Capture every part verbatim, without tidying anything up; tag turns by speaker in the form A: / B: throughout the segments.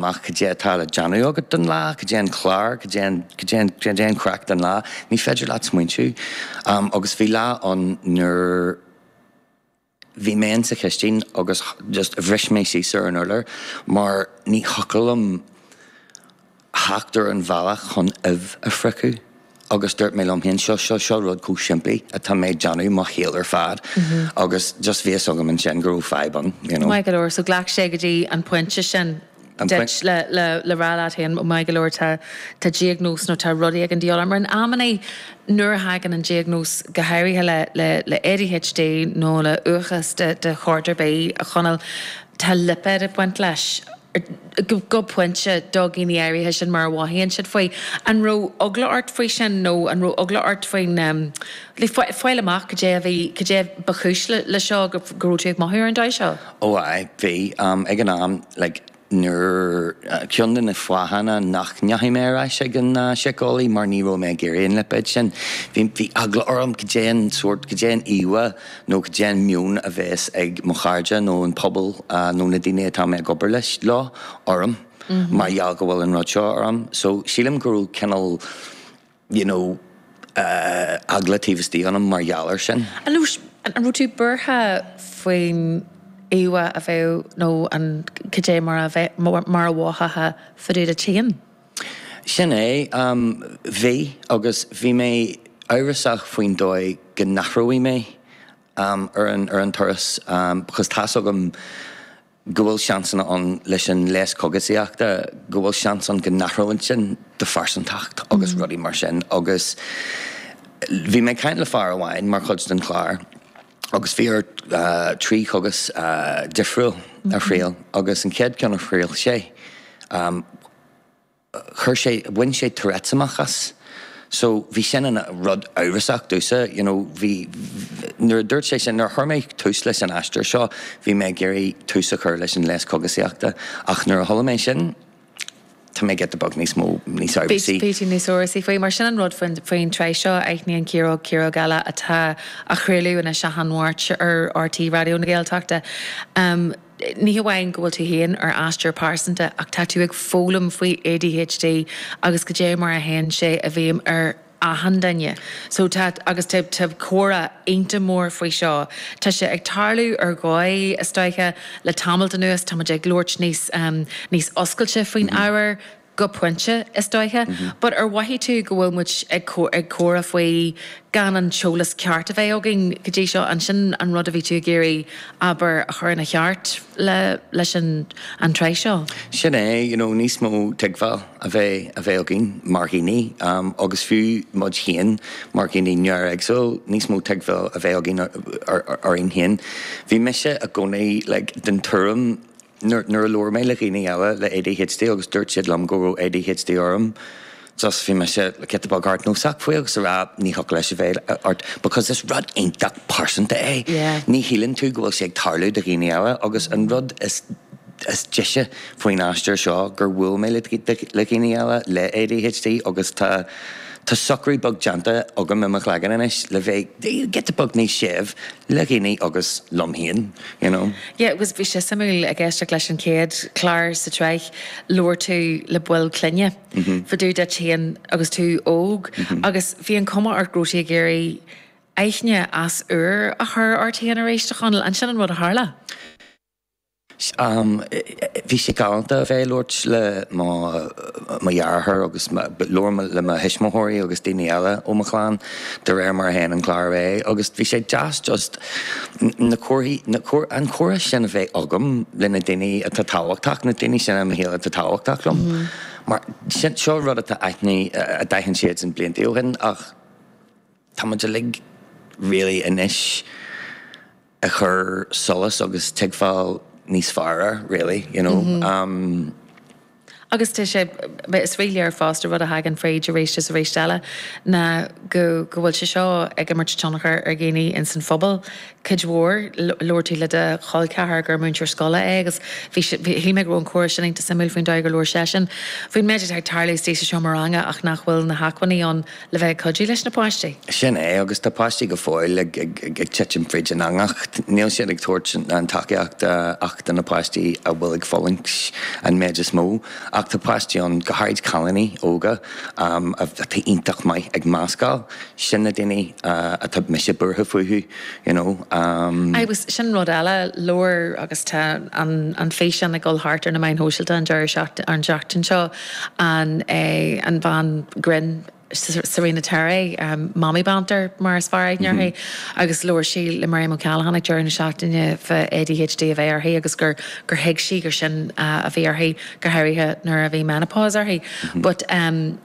A: Amach cad é atá le déanamh agat don lá, cad é an clár, cad é an cad é an cad é an craic don lá, ní féidir leat smaointiú. Um, agus bhí lá ann nuair bhí mé in sa chistin agus just bhris mé síos ar an urlár mar ní thiocfadh liom theacht ar an bhealach chun ubh a fhriochadh agus dúirt mé liom féin seo seo seo rud chomh simplí atá mé ag déanamh mo shaol ar fad agus just bhí a fhios agam ansin go raibh fadhb ann, you know.
B: Maith go leor, so ghlac sé go dtí an pointe sin
A: An
B: duit le le le rá leat féin maith go leor tá tá diagnóis nó tá rudaí ag an díol mar in amanna nuair a thagann an diagnóis go háirithe le le le ADHD nó le uathachas de de shórt ar bith a Chonaill tá lipéad ag baint leis go go pointe do dhaoine áirithe sin mar a mhothaíonn siad faoi. An raibh eagla ort faoi sin nó an raibh eagla ort faoin um, le fáil amach cad é a bhí cad é ba chúis le le seo go go raibh tú ag mothú ar an dóigh seo?
A: Ó aye, bhí um, ag an am like, nuair uh, ceann de na fáthanna nach ndeachaigh mé ar ais ag an uh, síceolaí mar ní raibh mé ag iarraidh an lipéad sin. Bhí bhí eagla orm cad é an sórt cad é an íomhá nó cad é an meon a bheas ag mo chairde nó an pobal uh, nó na daoine atá mé ag obair leis leo orm mm -hmm. mar gheall go bhfuil an rud seo orm. So sílim go raibh cineál you know, uh, eagla taobh istigh ionam mar gheall air sin.
B: An an raibh tú buartha faoin íomhá a bheith nó an cad é mar a bheith mar a mhothófá fá dtaobh díot féin?
A: Sin é um, bhí agus bhí mé amhrasach faoin dóigh go n-athróidh mé um, ar an, ar an turas um, because tá's agam go bhfuil seansanna ann leis an leigheas cógaisíochta, go bhfuil seans ann go n-athróinn sin do phearsantacht agus mm. rudaí mar sin agus bhí mé caint le fear amháin mar chuid den chlár agus bhí air uh, trí chógas uh, difriúil mm -hmm. a thriail agus an chéad ceann a thriail sé. Um, chuir sé bhain sé Tourette's amach as. So bhí sin an rud amhrasach domhsa, you know, bhí nuair a dúirt sé sin nuair chuir mé tús leis an aistear seo, bhí mé ag iarraidh tús a chur leis an leigheas cógaisíochta ach nuair a chuala mé sin tá mé giota beag níos mó níos amhrasaí.
B: Bhí níos amhrasaí faoi mar sin an rud faoin tsraith seo Aithníonn Ciaróg Ciaróg Eile atá á chraoladh anois achan Mháirt ar RTÉ Raidió na Gaeltachta. Um, ní hamháin go bhfuil tú féin ar aistear pearsanta ach tá tú ag foghlaim faoi ADHD agus cad é mar a théann sé i bhfeidhm ar achan duine. So tá agus tá tá comhrá iontach mór faoi seo. Tá sé ag tarlú ar dhóigh is dóiche le tamall anuas tá ag labhairt níos um, níos oscailte faoin mm -hmm. ábhar go pointe is dóiche, mm -hmm. But ar mhothaigh tú go bhfuil muid ag ag comhrá faoi gan an t-eolas ceart a bheith againn go dtí seo ansin an rud a bhí tú ag iarraidh abair a chur ina cheart le leis an an tsraith seo.
A: Sin é you know, níos mó tuigbheáil a bheith a bheith againn mar dhaoine um, agus fiú muid féin mar dhaoine néaréagsúil níos mó tuigbheáil a bheith againn orainn féin. Bhí mise i gcónaí like, den tuairim nuair a labhair mé le dhaoine eile le ADHD agus dúirt siad liom go raibh ADHD orm. Just bhí mise le giota beag ardnósach faoi agus a rá ní thiocfadh leis a bheith ort because is rud iontach pearsanta é.
B: Yeah.
A: Ní shíleann tú go bhfuil sé ag tarlú do dhaoine eile agus an rud is is deise faoin aistear seo gur bhuail mé le le daoine eile le ADHD agus tá Tá socrú beag déanta agam i mo chloigeann anois le bheith giota beag níos séimhe le daoine agus liom féin, you know.
B: Yeah, agus bhí sé suimiúil ag éisteacht leis an chéad chlár sa tsraith labhair tú le baill clainne. Mm -hmm. Fá dtaobh díot féin agus tú óg mm -hmm. agus bhí an cuma ort go raibh tú ag iarraidh aithne as úr a chur ort féin arís a Chonaill an sin an rud a tharla.
A: Um, bhí sé galánta a bheith labhairt le mo mo dheartháir agus labhair le mo thuismitheoirí agus daoine eile ó mo chlann de réir mar a théann an clár é agus bhí sé deas just na comhrá na an comhrá sin a bheith agam le na daoine atá tábhachtach na daoine sin i mo shaol atá tábhachtach liom. Mm -hmm. Mar sin seo rud atá aithne a d'aithin siad sin blianta ó shin ach tá muid uilig really anois ag cur solas agus tuigbheáil níos fearr really you know mm -hmm. um,
B: Agus tá sé is ríléir fosta rud a thagann fríd arís is arís eile ná go go bhfuil sé seo ag imirt tionchar ar dhaoine in san phobal. Cuid mhór labhair tú le do chol ceathar gur múinteoir scoile é agus bhí shíl mé go raibh an comhrá sin iontach suimiúil faoin dóigh gur labhair seisean faoin méid atá ag tarlú istigh sa seomra ranga ach nach bhfuil na hacmhainní ann le bheith ag cuidiú leis na páistí.
A: Sin é agus tá páistí go fóill ag ag ag titim fríd an eangach. Níl siad ag tabhairt an tacaíocht ach do na páistí a bhfuil ag fulaingt an méid is mó. Ach tá páistí ann go háirid cailíní óga atá iontach maith ag mascáil. Sin na daoine atá mise buartha fúthu you know.
B: Agus sin rud eile labhair agus tá an an físeán ag dul thart ar na meáin shóisialta an deireadh an tseachtain seo an an bhean grinn Serena Terry, um, Mommy Banter mar is fearr aithne uirthi, agus labhair sí le Miriam O'Callaghan ag deireadh na seachtaine fá ADHD a bheith uirthi agus gur gur thuig sí gur sin uh, a bhí uirthi go háirithe nuair a bhí menopause uirthi. But um,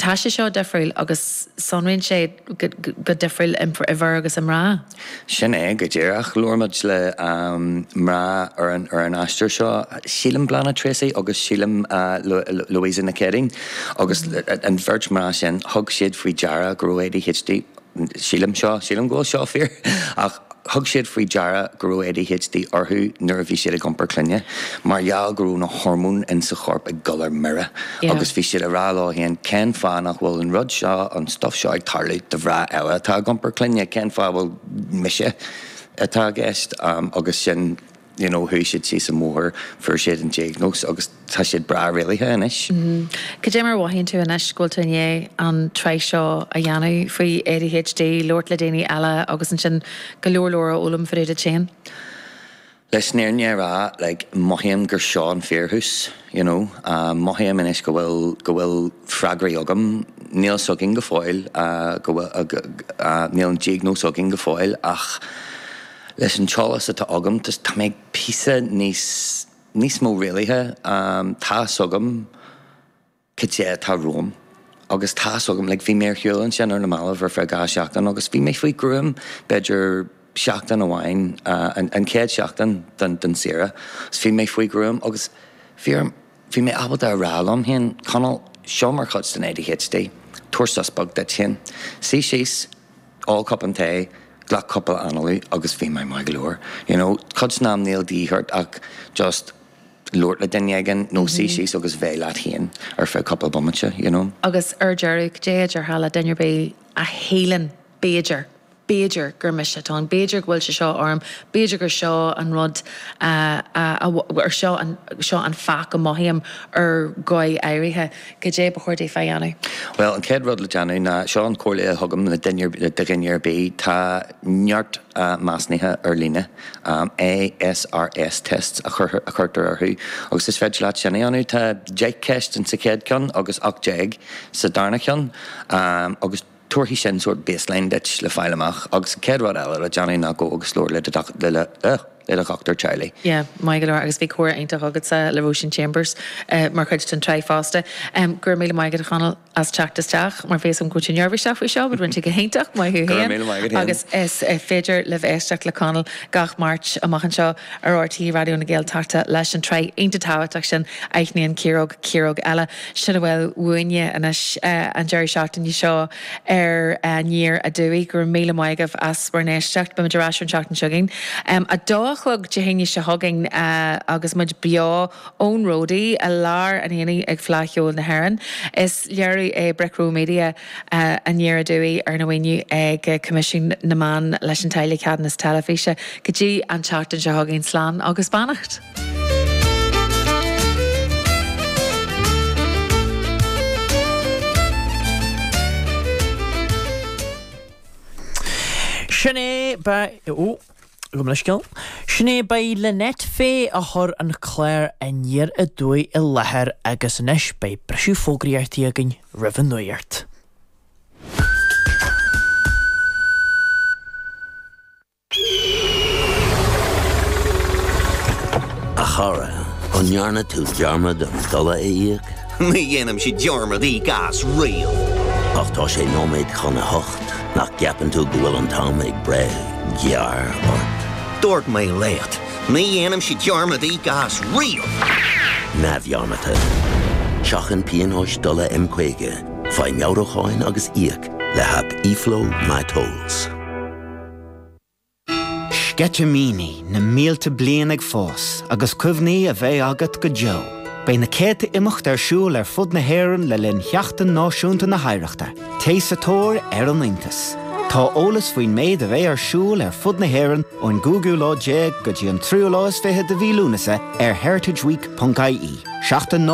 B: tá sé seo difriúil agus sonraíonn sé go difriúil i bhfir agus i mná.
A: Sin é go díreach labhair muid le um, mná ar an ar an aistear seo sílim Bláthnaid Treacy agus sílim uh, Louisa Nic Éadaoin agus mm -hmm. an bheirt mná sin thug siad faoi deara go raibh ADHD sílim seo sílim go bhfuil seo fíor ach thug siad faoi deara go raibh ADHD orthu nuair a bhí siad ag iompar clainne, mar gheall go raibh na hormóin insa chorp ag dul ar mire agus bhí siad ag rá leo féin cén fáth nach bhfuil an rud seo an stuff seo ag tarlú do mhná eile atá ag iompar clainne, cén fáth bhfuil mise atá i gceist um, agus sin you know, chuaigh siad síos an bóthar fuair siad an diagnóis agus tá siad breá réalaithe anois.
B: Mm. Cad é mar a mhothaíonn tú anois go bhfuil tú i ndiaidh an tsraith seo a dhéanamh faoi ADHD, labhairt le daoine eile agus ansin go leor leor a fhoghlaim fá dtaobh duit féin?
A: Leis an fhírinne a rá, like, mothaím gur seo an fíorthús, you know. Uh, mothaím anois go bhfuil go bhfuil freagraí agam, níl fhios againn go fóill, uh, go bhfuil, uh, uh, níl an diagnóis againn go fóill ach leis an t-eolas atá agam tá mé píosa níos níos mó réalaithe um, tá fhios agam cad é atá romham. Agus tá fhios agam like, bhí mé ar shiúl ansin ar na mallaibh ar feadh dhá seachtain agus bhí mé faoi ghruaim b'fhéidir seachtain amháin uh, an, an chéad seachtain den, den saoire. So bhí mé faoi ghruaim agus bhí bhí mé ábalta a rá liom féin Conall seo mar chuid den ADHD, tabhair sos beag duit féin. Suigh síos, ól cupán tae, glac cúpla análú agus bhí mé maith go leor. You know, cuid den am níl de dhíth ort ach just labhairt le duine éigin nó suí síos agus bheith leat féin ar feadh cúpla bomaite, you know.
B: Agus ar deireadh cad é a déarfá le duine ar bith a shíleann b'fhéidir, b'fhéidir gur mise atá ann, b'fhéidir go bhfuil sé seo orm, b'fhéidir gur seo an rud ar seo an seo an fáth go mothaím ar dhóigh áirithe, cad é ba chóir daofa a dhéanamh.
A: Well, an chéad rud le déanamh ná seo an chomhairle a thugaim le duine le duine ar bith tá neart uh, measúnuithe ar líne um, ASRS tests a chur a chuirtear orthu agus is féidir leat sin a dhéanamh tá deich ceist in sa chéad ceann agus ocht déag sa darna ceann um, agus tabharfaidh sin sort baseline duit le fáil amach agus an chéad rud eile le déanamh ná go agus labhair le le le le le do dhochtúir teaghlaigh.
B: Yeah, maith go leor agus bhí comhrá iontach agatsa le Róisín Chambers uh, mar chuid den tsraith fosta. Um, Go raibh míle maith agat a Chonaill as teacht isteach mar bhí an go neirbhíseach faoi seo, rinne tú go hiontach maith thú
A: Go raibh míle maith agat féin.
B: Agus is eh, féidir libh éisteacht le Conall gach Máirt amach anseo ar RTÉ Raidió na Gaeltachta leis an tsraith iontach tábhachtach sin aithníonn ciaróg ciaróg eile sin a bhfuil uainne anois uh, an deireadh seachtaine seo ar uh, Aniar Aduaidh go raibh míle maith agaibh as bhur n-éisteacht beimid ar ais an tseachtain seo chugainn. Um, a dó a chlog Dé hAoine seo chugainn uh, agus muid beo ón Ródaí i lár an aonaigh ag Fleadh Cheoil na hÉireann. Is léiriú é Brick Row Media uh, Aniar Aduaidh arna mhaoiniú ag Coimisiún na Meán leis an Táille Ceadúnas Teilifíse go dtí an tseachtain seo chugainn slán agus beannacht.
C: Sin é ba ó go leisceil. Sin é ba í Lynette Fay a chuir an clár Aniar Aduaidh i láthair agus anois beidh briseadh fógraíochta againn roimh an nuacht.
D: A chara, an ndearna tú dearmad an dola a íoc?
E: Ní dhéanaimse dearmad íoc as riamh.
D: Ach tá sé nóiméad chun a hocht nach gceapann tú go bhfuil an t-am ag breith gearr ort.
E: Dúirt mé leat, ní dhéanaimse dearmad íoc as riamh.
D: neamhdhearmadta. Seachain pionóis dola M caoga, faigh meabhrúcháin agus íoc le haip eFlow MyTolls.
F: Sceitimíní na mílte bliain ag fás agus cuimhní a bheidh agat go deo. Beidh na céadta imeacht ar siúl ar fud na hÉireann le linn Sheachtain Náisiúnta na hOidhreachta, Téigh sa tóir ar an iontas. Tá eolas faoin méid a bheidh ar siúl ar fud na hÉireann ón gcúigiú lá déag go dtí an tríú lá is fiche de mhí Lúnasa ar heritageweek.ie. Seachtain